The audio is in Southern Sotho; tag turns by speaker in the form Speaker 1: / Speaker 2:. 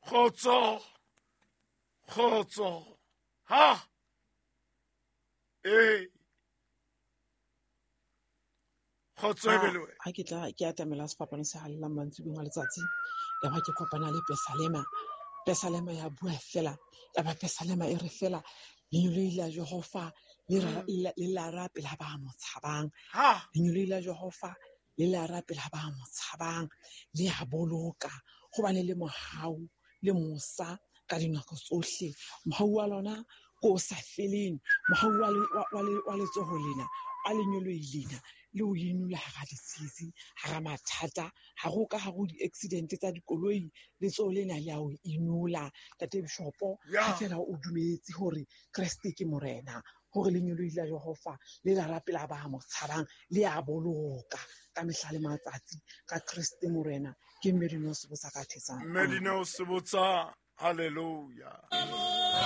Speaker 1: Kgotso, kgotso. Ha! Ee. Kgotso e be le wena.
Speaker 2: Ha ke tla ke atamela sefapano se halalelang mantsibuyeng a letsatsi, ya ba ke kopana le Pesalema. Pesalema ya bua fela, ya ba Pesalema e re fela, Lengeloi la Jehova le le lara pela ba mo tshabang. Lengeloi la Jehova le lara pela ba mo tshabang, le a boloka, hobane le mohau le mosa ka dinako tsohle. Mohau wa lona ke o sa feleng, mohau wa letsoho lena, wa lengeloi lena, le o inola hara ditsietsi, hara mathata, ha go ka ha go di-accident tsa dikoloi, letsoho lena le a o inola. Ntate Bishopo, ha fela o dumetse hore Kreste ke Morena, hore lengeloi la Jehova le la rapela ba mo tshabang, le a boloka ka mehla le matsatsi ka Kreste Morena. Ke Mme Dineo Sebotsa ka Thetsang.
Speaker 1: Mme Dineo Sebotsa, hallelujah.